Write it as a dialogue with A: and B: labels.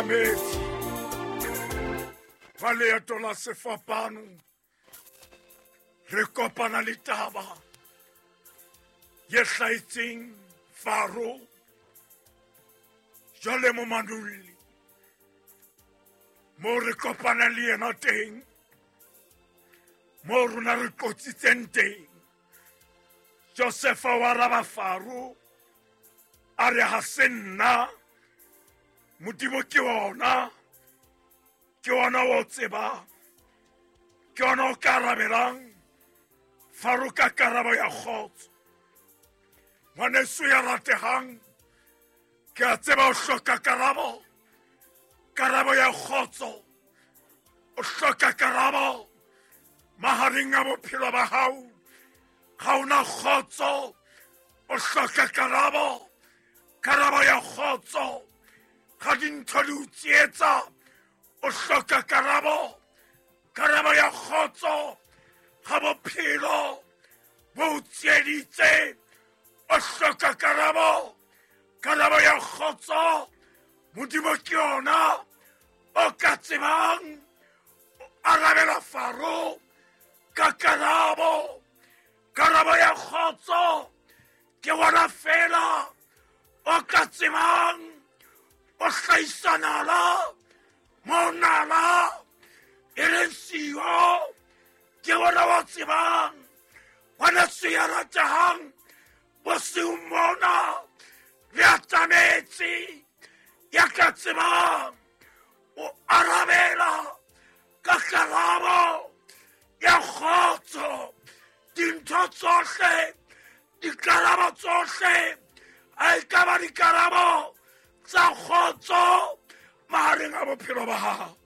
A: Metsi ba leeto la sefapano re kopana le taba ye hlahetseng Faro jwale mo manolli mo re kopana le yena teng mo rona re qotsitseng teng. Josefa wa araba Faro a re ha se nna, Modimo ke ona, ke ona o tsebang, ke ona o ka arabelang Faro ka karabo ya kgotso. Ngwaneso ya rategang, ke a tseba o hloka karabo, karabo ya kgotso. O hloka karabo mahareng a bophelo ba hao, ga ona kgotso. O hloka karabo, karabo ya kgotso. Ga dintho di o tsietsa, o hloka karabo, karabo ya kgotso. Ga bophelo bo o tsieditse, o hloka karabo, karabo ya kgotso. Modimo ke yona o ka tsebang o arabela Faro ka karabo, karabo ya kgotso. Ke wona fela o ka tsebang o hlahisa nala mo nala e leng siyo. Ke wona wa tsebang ngwaneso ya ratehang, bosiung mona le atametse ya ka tsebang o arabela ka karabo ya kgotso. Dintho tsohle, dikarabo tsohle, a e ka ba dikarabo tsa kgotso mahareng a bophelo ba hao.